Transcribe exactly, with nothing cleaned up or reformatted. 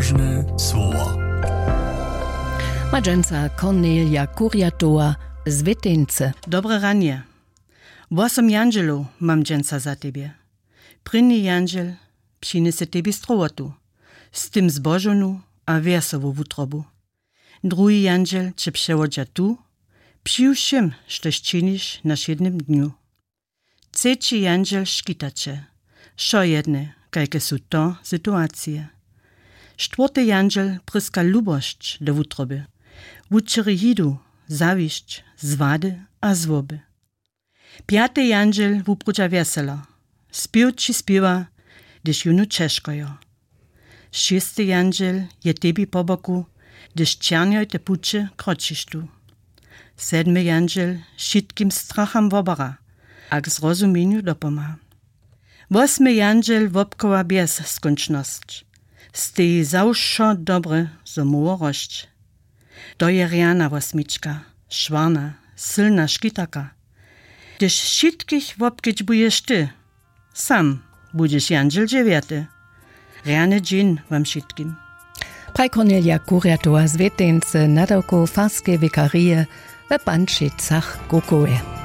Słowa. Ma dźensa Kornelija Kurjatowa z Wěteńcy. Dobre ranje. Wosom jandźelow mam dźensa za tebje. Prěni jandźel přinjese tebi strowotu, z tym zbožownu a wjesołu wutrobu. Druhi jandźel će přewodźa tu, při wšěm, štož činiš na wšědnym dnju. Třeći jandźel škita će, wšojedne, kajke su to situacije. Štwórty jandźel pryska lubosć do wutroby, wučeri hidu, zawisć, zwady a złoby. Pjaty jandźel wuprudźa wjeselo, spěw ći spěwa, hdyž jónu ćežkojo. Šěsty jandźel je tebi po boku, hdyž černjojte puće kročiš tu. Sedmy jandźel wšitkim stracham wobara a k zrozuměnju dopomha. Wosmy jandźel wobchowa bjez skónčnosć, steji za wšo dobre, zo móhło rosć. To je rjana wosmička, šwarna, sylna škitaka. Hdyž wšitkich wobkedźbuješ ty, sam budźeš jandźel dźewjaty. Rjany dźeń wam wšitkim. Praj Kornelija Kurjatowa z Wěteńcy, nadawkow farskeje wikarije we Pančicach-Kukowje.